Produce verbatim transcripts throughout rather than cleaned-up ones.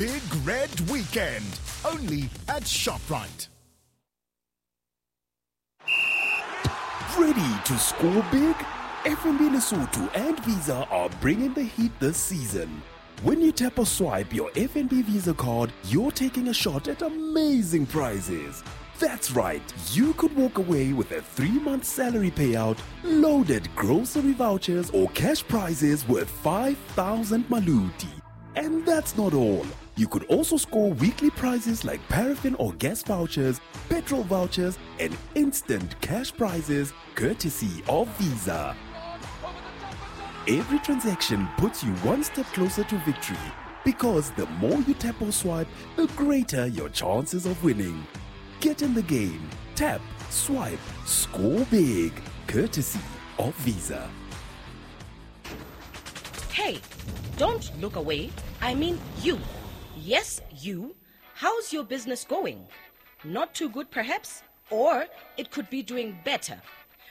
Big Red Weekend, only at ShopRite. Ready to score big? F N B Lesotho and Visa are bringing the heat this season. When you tap or swipe your F N B Visa card, you're taking a shot at amazing prizes. That's right, you could walk away with a three-month salary payout, loaded grocery vouchers or cash prizes worth five thousand maluti. And that's not all. You could also score weekly prizes like paraffin or gas vouchers, petrol vouchers, and instant cash prizes courtesy of Visa. Every transaction puts you one step closer to victory, because the more you tap or swipe, the greater your chances of winning. Get in the game. Tap, swipe, score big. Courtesy of Visa. Hey, don't look away. I mean you. Yes, you. How's your business going? Not too good, perhaps? Or it could be doing better.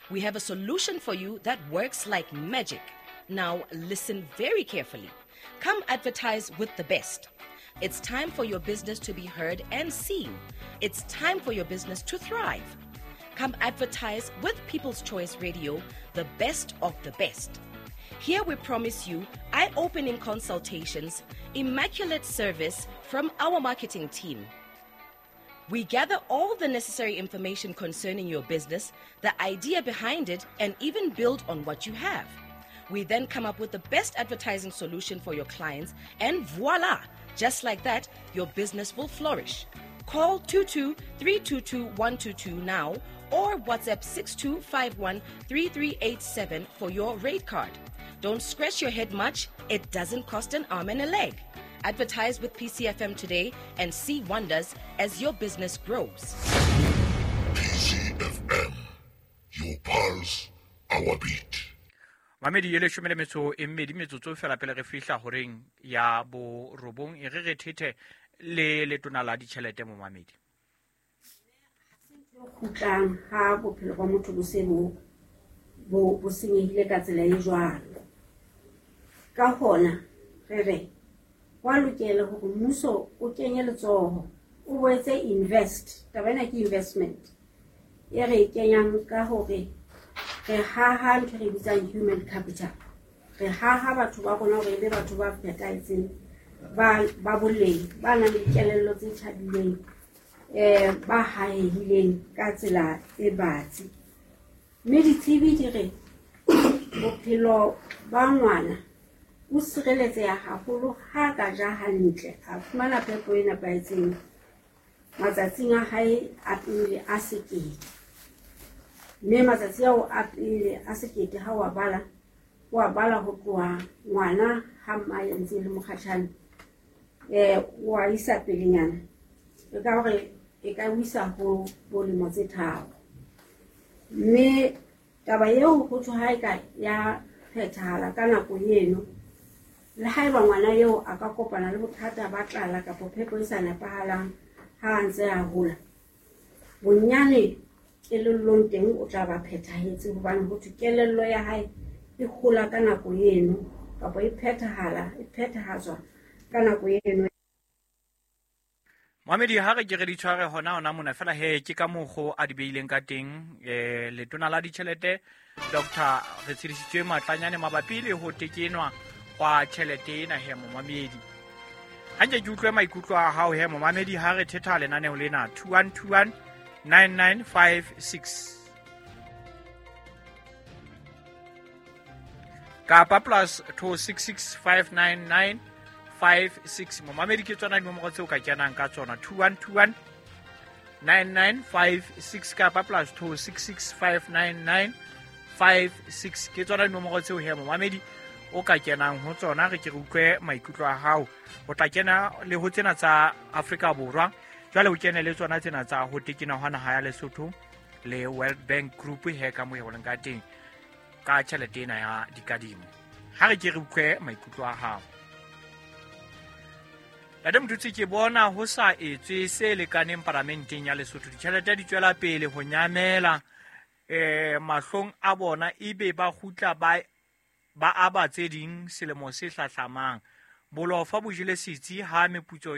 We have a solution for you that works like magic. Now, listen very carefully. Come advertise with the best. It's time for your business to be heard and seen. It's time for your business to thrive. Come advertise with People's Choice Radio, the best of the best. Here we promise you eye-opening consultations, immaculate service from our marketing team. We gather all the necessary information concerning your business, the idea behind it, and even build on what you have. We then come up with the best advertising solution for your clients, and voila! Just like that, your business will flourish. Call two two three two two one two two now or WhatsApp six two five one three three eight seven for your rate card. Don't scratch your head much. It doesn't cost an arm and a leg. Advertise with P C F M today and see wonders as your business grows. P C F M, your pulse, our beat. Mamedi e leshome le metso e mmedi metsotso fela pele re fihla horeng ya borobong e re re thethe le letona la ditjhelete mo mamedi. Kgutlang ha bophelo ba motho bo se bo bo bo senyehile ka tsela e jwalo. Ka hona re re wa lokela hore mmuso o kenye letsoho, o boetse invest. Taba ena ke investment e re e kenyang ka hore re haha ntho re bitsang human capital. Re haha batho ba rona hore e be batho ba phethahetseng, ba ba boleng, ba nang le dikelello tse tjhabileng, eh ba hahehileng ka tsela e batsi. Mme ditsebi di re bophelo ba ngwana o sireletseha haholo ha ka ja hantle, a fumana phepo e nepahetseng matsatsing a hae a pele a sekete. Mme matsatsi ao a pele a sekete ha wa bala, wa bala ho tloha ngwana ha mmae ntse e le mokgatjhane, eh wa isa pelenyana. E ka hore e ka o isa ho bolemo tse tharo. Mme taba eo ho thwe ha e ka ya phethahala ka nako eno, le haeba ngwana eo a ka kopana le bothata ba tlala kapa phepo e sa nepahalang ha a ntse a hola, bonyane kelellong teng o tla ba phethahetse, hobane ho thwe kelello ya hae e hola ka nako eno kapa e phethahala, e phethahatswa ka nako eno. Mamedi ha re ke re di tshware hona hona mona fela he ke ka mokgo a di beileng ka teng eh letona la ditjhelete Doctor Retshidisitswe Matlanyane mabapi le ho tekenwa kwa tjhelete ena he momamedi. Ha nke ke utlwe maikutlo a hao he momamedi ha re thetha lenaneo lena two one two one nine nine five six kapa plus two six six five nine nine five six. Momamedi ke tsona dinomoro tseo ka kenang ka tsona two one two one nine nine five six kapa plus two six six five nine nine five six. Ke tsona dinomoro tseo he momamedi o ka kenang ho tsona. Re ke re utlwe maikutlo a hao. O tla kena le ho tsena tsa Afrika Borwa, jwale o kene le tsona tsena tsa ho tekena hwa naha ya Lesotho le World Bank Group he ka mo e holeng ka teng ka tjhelete ena ya dikadimo. Ha re ke re utlwe maikutlo a hao. Ntate Motutsi, ke bona ho sa etswe se lekaneng paramenteng ya Lesotho. Ditjhelete di tswela pele ho nyamela eh mahlong a bona, ebe ba kgutla ba ba aba tse ding selemo se hlahlamang. Bolofa bo jele setsi ha meputso yona.